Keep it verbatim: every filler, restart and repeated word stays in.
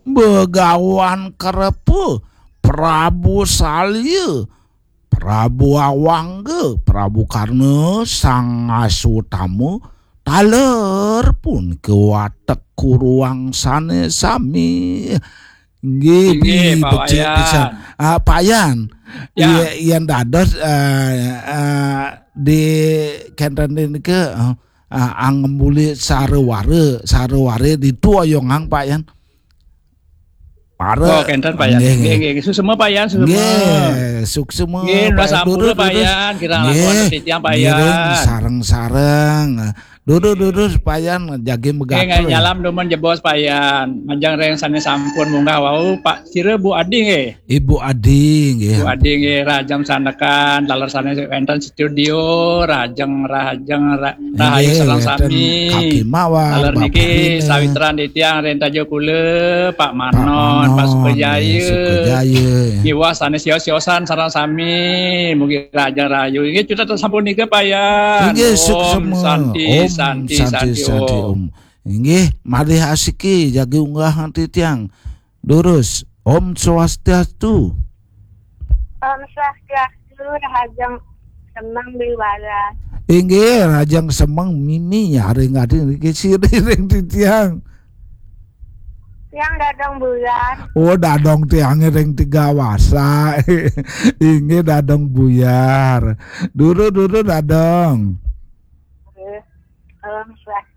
Begawan Kerepe, Prabu Salya, Prabu Awangga, Prabu Karna, Sang Asutama, taler pun ke watek kuruang sane sami. Nggih, Nggih, Pak becik Wayan. Pisan. Ah, Pak Yan. Ya. Iya, yen dados, eh, eh, di kenten niki, eh, eh, angembuli sarawara, sarawara ditu oyongang, Pak Yan. Para. Oh, kenten, Pak Yan. Nggih, Nggih, nggih. Nggih, suksema, Pak Yan, suksema. Nggih, suksema, Nggih, nunas Pak Yan. Ampura, Durus, Pak durus. Yan. Kirang Nggih, langkung titiang, Pak ngiring Yan. Sareng-sareng. Durus, durus, Pak Yan, jagi Nggih, megatur. Nyalam dumun jebos, Pak Yan. Majeng ring sane sampun munggah wau, Pak, sira Bu Adi nggih. Ibu Adi nggih. Bu Adi nggih, rahajeng sandekan, taler sane wenten studio, rahajeng, rahajeng, ra-, rahayu Nggih, sareng wenten sami. Kaki Mawar, taler Bapak niki Rina. Sawitran titiang ring Taja Kula, Pak Pak Manon, Pak Manon, Sukajaya. Nggih, Sukajaya. Miwah sane sios-siosan sareng sami, mugi rahajeng rahayu. Nggih, cutet sampun nika, Pak Yan. Nggih, Om suksema. Santi, Om Santi, Santi, Santi, Santi, Om. Om. Inggih, malih asiki jagi unggah titiang. Durus. Om Swastiastu. Om Swastiastu, rahajeng semeng biwara. Inggih, rahajeng semeng mimi nyaring adi niki sira ring titiang. Tiang Dadong Buyar. Oh, Dadong tiange ring Tiga Wasa. Inggih, Dadong Buyar. Durus, durus, Dadong. Nggih. Om Swastiastu.